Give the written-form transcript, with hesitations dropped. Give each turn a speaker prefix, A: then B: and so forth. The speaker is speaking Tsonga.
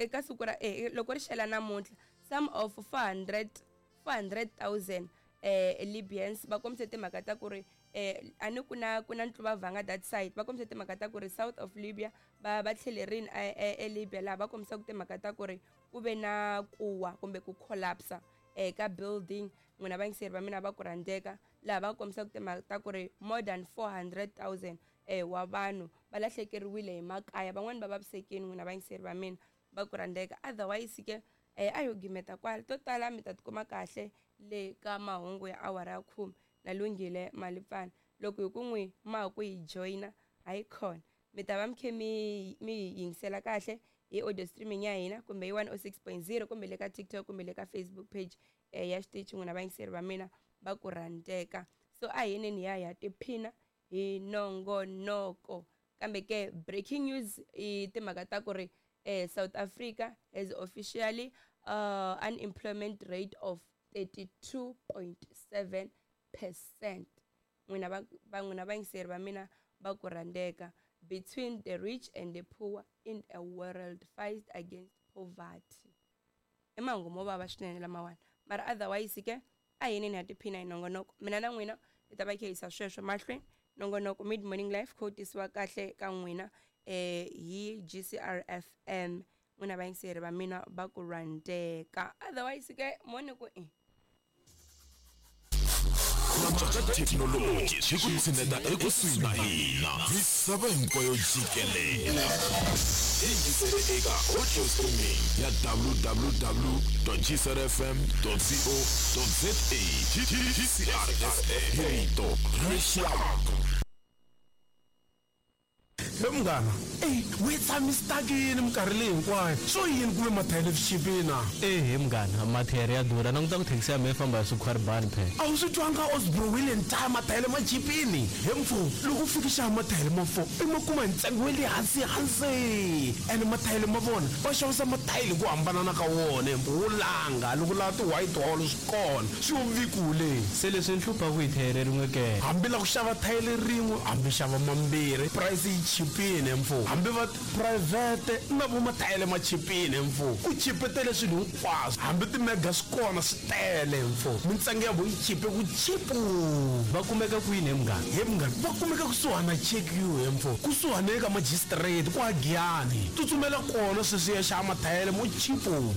A: eka siku ra eh, loko ri xela namuntlha some of 400 400,000 eh Libyans va kombise timhaka ta ku ri eh a ni ku na ku na ntluvavhanga that side va kombise timhaka ta ku ri south of Libya va va tlhelerini eLibya laha va kombisaka timhaka ta ku ri ku ve na kuwa kumbe ku collapse eh ka building n'wina vayingiseri va mina va ku rhandzeka laha va kombisaka timhaka ta ku ri more than 400,000 eh wa vanhu va lahlekeriwile hi makaya van'wani va vavisekini n'wina vayingiseri va mina va ku rhandzeka otherwise ke eh a yo gimeta kwala to tala mi ta tikuma kahle le ka mahungu ya awara ya khume na lunghile malipfana loko hi ku n'wi ma ha ku hi joyina hayi khona mi ta va mi khe mi mi hi yingisela kahle hi audio streaming ya hina kumbe hi 106.0 kumbe le ka TikTok kumbe le ka Facebook page eh, ya xitichi n'wina vayingiseri va mina va ku rhandzeka so a hi yeneni hi ya hi ya tiphina hi nongonoko kambe ke breaking news i timhaka ta ku ri eh, South Africa has officially unemployment rate of 32.7 percent n'wina va va n'wina vayingiseri va mina va ku rhandzeka between the rich and the poor in a world fight against poverty i mahungu mo vava swinene lamawani mara otherwise ke a hi yeneni ha tiphina hi nongonoko mina na n'wina hi ta va khe yisa sweswo mahlweni nongonoko mid morning life kho tisiwa kahle ka n'wina eh hi GCR FM n'wina vayingiseri va mina va ku rhandzeka otherwise ke mo ni ku i
B: Antswa ka thekinoloji swi ku tshineta ekusuhi na hina misava hinkwayo jikelele. Yingisele eka audio streaming ya www.gcrfm.co.za. GCR FM, rito ra rixaka.
C: He munghana, ey, we tshami stakini minkarhi leyi hinkwayo, swo yini ku ve mathayere swi chipile na?
D: Ehe munghana, mathayere ya durha, languta ku thekisi ya mehe yi famba hi swikhwaribani phela.
C: A wu swi twanga Osbro Wheel and Tyre mathayere ma chipini? He mfo, loko u fika xava mathayere ma fo i ma kuma hi ntsengo wa le hansi hansi. Ene mathayere ma vona va xavisa mathayele hi ku hambanana ka wona he mfo, wo langa loko u lava ti white hall swi kona, swi yo vikule.
D: Se leswi ni hluphaku hi thayere rin'we ke?
C: Hambi la ku xava thayele rin'we hambi xava mambirhi price yi chipile mfo hambi va private na vo mathayele ma chipile mfo ku chipetele swilo hinkwaswo hambi ti mega swi kona swi tele mfo mintsengo ya vo yi chipe ku chipu.
D: Va kumeka kwini he munghana?
C: He munghana va kumeka kusuhani na Check You he mfo kusuhani eka magistrate kwa Giyani tsutsumela kona sweswi ya xava mathayele mo chipu.